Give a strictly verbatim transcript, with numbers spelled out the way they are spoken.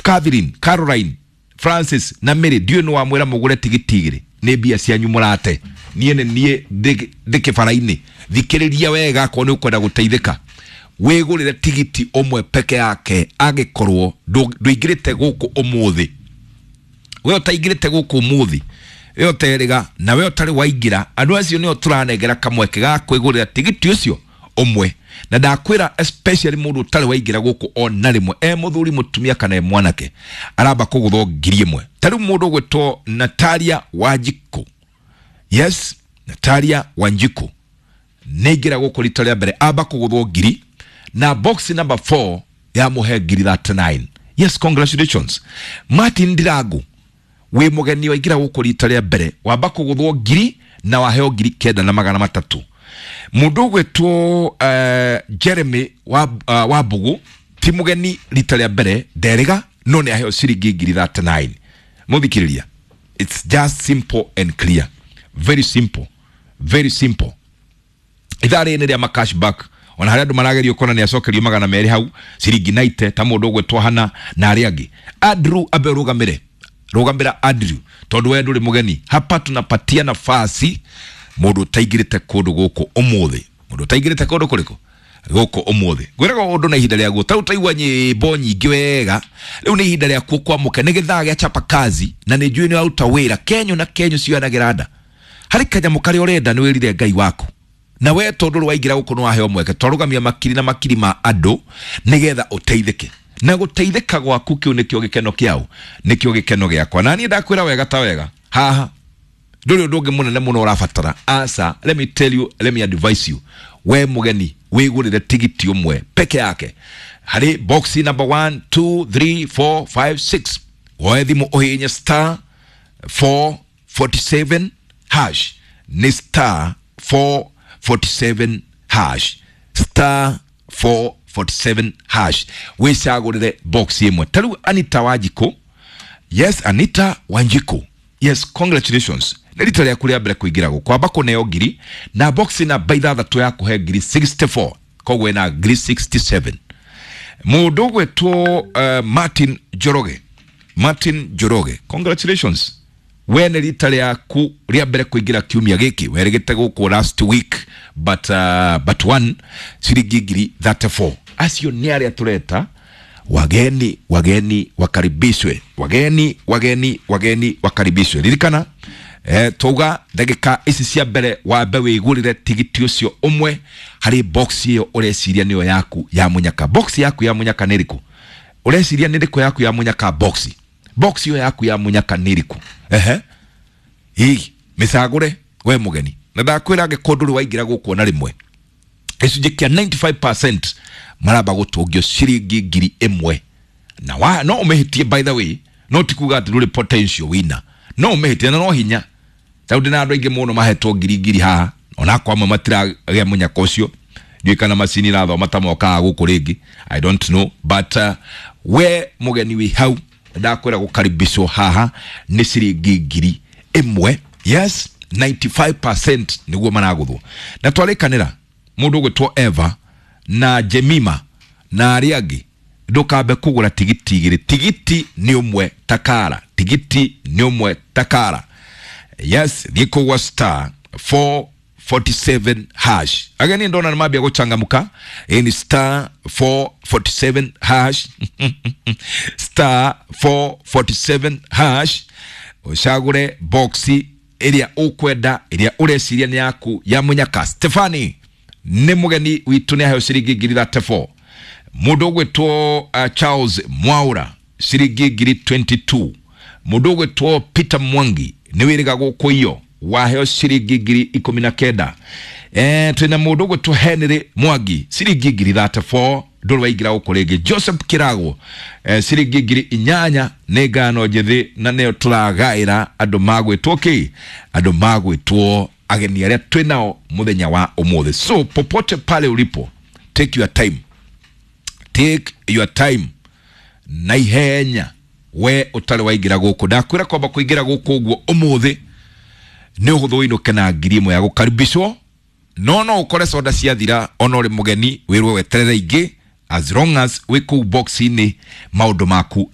Catherine, Caroline, Francis na Mary, ndiũĩ nĩ wamwĩra mũgũre tigiti igĩrĩ, nĩ mbia cianyu mũrate. Niĩ nĩ niĩ ndĩ kĩbara-inĩ. Thikĩrĩria wega akorwo nĩ ũkwenda gũteithĩka, wĩgũrĩre tigiti ũmwe peke yake angĩkorwo ndũingĩrĩte gũkũ ũmũthĩ. We ũtaingĩrĩte gũkũ ũmũthĩ, we ũterĩga na we ũtarĩ waingĩra, andũ acio nĩo tũranengera kamweke ga kwĩgũrĩra tigiti ũcio ũmwe. Na ndakwĩra especially mũndũ ũtarĩ waingĩra gũkũ ona rĩmwe, e mũthuri, mũtumia kana e mwanake, aramba kũgũthwo ngiri ĩmwe. Ta rĩu mũndũ ũgwĩtwo Natalia Wanjiku, yes, Natalia Wanjiku nĩaingĩra gũkũ rita rĩa mbere, amba kũgũthwo ngiri na box number four yamũhe ngiri thirty-nine. Yes, congratulations. Martin Ndirangu, wĩ mũgeni waingĩra gũkũ rita rĩa mbere, wamba kũgũthwo ngiri na waheo ngiri kenda na magana matatũ. Mũndũ ũgwĩtwo uh, Jeremy wa, uh, wa Mbugu ti mũgeni rita rĩa mbere, nderĩga no nĩ aheo ciringi ngiri thirty-nine. Mũthikĩrĩria, it's just simple and clear, very simple, very simple. Ithaa rĩrĩ nĩ rĩa ma cashback, ona harĩa andũ maragerio kuona nĩ acokerio magana merĩ hau ciringi ninety, ta mũndũ ũgwĩtwo Hana na arĩa angĩ. Andrew, ambe ũrũgamĩre, rũgamĩra Andrew, tondũ we ndũrĩ mũgeni hapa. Tunapatia nafasi mũndũ ũtaingĩrĩte kũndũ gũkũ ũmũthĩ. Mũndũ ũtaingĩrĩte kũndũ kũrĩkũ gũkũ ũmũthĩ, ngwĩraga ũndũ na ihinda rĩaguo. Ta rĩu taigua nyĩmbo nyingĩ wega, rĩu nĩ ihinda rĩakuo kwamũka, nĩ gĩthaa gĩa chapa kazi, na nĩ njũĩ nĩ waruta wĩra kenyo na kenyo cioyanagĩra nda harĩ kanyamũ karĩa ũrenda, nĩ wĩrire Ngai waku. Na we tondũ rĩ waingĩra gũkũ nĩ waheo mweke, twarũgamia makiri na makiri ma andũ nĩgetha ũteithĩke, na gũteithĩka gwaku kĩu nĩkĩo gĩkeno kĩao, nĩkĩo gĩkeno gĩakwa. Na niĩ ndakwĩra wega ta wega, haha ndũrĩ ũndũ ũngĩ mũnene mũno ũrabatara. Asa, let me tell you, let me advise you, we mũgeni wĩgũrĩre tigiti ũmwe peke yake harĩ box number one, two, three, four, five, six. Woe thimũ ũhihinye star four forty-seven hash, nĩ star four forty-seven hash, star four forty-seven hash, wĩcagũrĩre box ĩmwe. Ta rĩu Anita Wanjikũ, yes, Anita Wanjiku, yes, congratulations, nĩ rita rĩaku rĩa mbere kũingĩra gũkũ, amba kũneo ngiri na box namba ithathatũ ya kũhe ngiri sixty-four, koguo ĩna ngiri sixty-seven. Mũndũ ũgwĩtwo uh, Martin Njoroge, Martin Njoroge, congratulations, we nĩ rita rĩaku rĩa mbere kũingĩra kiumia gĩkĩ, werĩgĩte gũkũ last week but, uh, but one ciringi ngiri thirty-four. Acio nĩ arĩa tũreta wageni. Wageni wakaribishwe, wageni, wageni, wageni wakaribishwe. Ririkana eh, twauga ndagĩka ici cia mbere wambe wĩgũrĩre tigiti ũcio ũmwe harĩ box ĩyo ũreciria nĩyo yaku ya mũnyaka. Box yaku ya mũnyaka nĩ ĩrĩkũ? Ũreciria nĩ ĩrĩkũ yaku ya mũnyaka? Box, box ĩyo yaku ya mũnyaka nĩ ĩrĩkũ? Ehe, ĩ mĩcagũre we mũgeni. Na ndakwĩra angĩkorwo ndũrĩ waingĩra gũkũ ona rĩmwe, gĩcunjĩ kĩa ninety-five percent maramba gũtũngio ciringi ngiri ĩmwe. Na wa, no ũmĩhĩtie, by the way, no ti kuga atĩ ndũrĩ potential winner. No ũmĩhĩtie na no hinya, tondũ ndĩna andũ aingĩ mũno mahetwo ngiri ngiri haha, onakwa amwe matiragĩa mũnyaka ũcio. Ndiũĩ kana macini irathoma ta mokaga gũkũ rĩngĩ, I don't know, but uh, we mũgeni wĩ hau, ndakwĩra gũkaribishwo haha nĩ ciringi ngiri ĩmwe. Yes, ninety-five percent nĩguo maragũthwo. Na twarĩkanĩra mũndũ ũgwĩtwo Eva na Jemima na arĩa angĩ, ndũkambe kũgũra tigiti igĩrĩ, tigiti nĩ ũmwe takara, tigiti nĩ ũmwe takara. Yes, thiĩ kũgwa star four forty-seven hash. Ageni ndona nĩ mambia gũchangamka. Ĩ ni star four forty-seven hash, star four forty-seven hash, ũcagũre boxi ĩrĩa ũkwenda, ĩrĩa ũreciria nĩ yaku ya mũnyaka. Stefani nĩ mũgeni witũ, nĩ aheo ciringi ngiri thirty-four. Mũndũ ũgwĩtwo uh, Charles Mwaura, ciringi ngiri twenty-two. Mũndũ ũgwĩtwo Peter Mwangi, nĩ wĩrĩga gũkũ iyo, waheo ciringi ngiri ikũmi na kenda. Eh, twĩna mũndũ ũgwĩtwo Henry Mwangi, ciringi ngiri thirty-four, ndũrĩ waingĩra gũkũ rĩngĩ. Joseph Kirago, eh, ciringi ngiri inyanya. Nĩ ngano njĩthĩ na nĩyo tũragaĩra andũ magwĩtwo kĩ, andũ magwĩtwo ageni arĩa twĩ nao mũthenya wa ũmũthĩ. So popote pale ulipo, take your time, take your time na ihenya. We ũtarĩ waingĩra gũkũ, ndakwĩra kwamba kũingĩra gũkũ ũguo ũmũthĩ nĩ ũhũthũ, ũinũke na ngiri ĩmwe ya gũkaribishwo. No no ũkore soda ciathira, ona ũrĩ mũgeni wĩrwo weterere ingĩ. As long as wĩ kũu box-inĩ, maũndũ maku.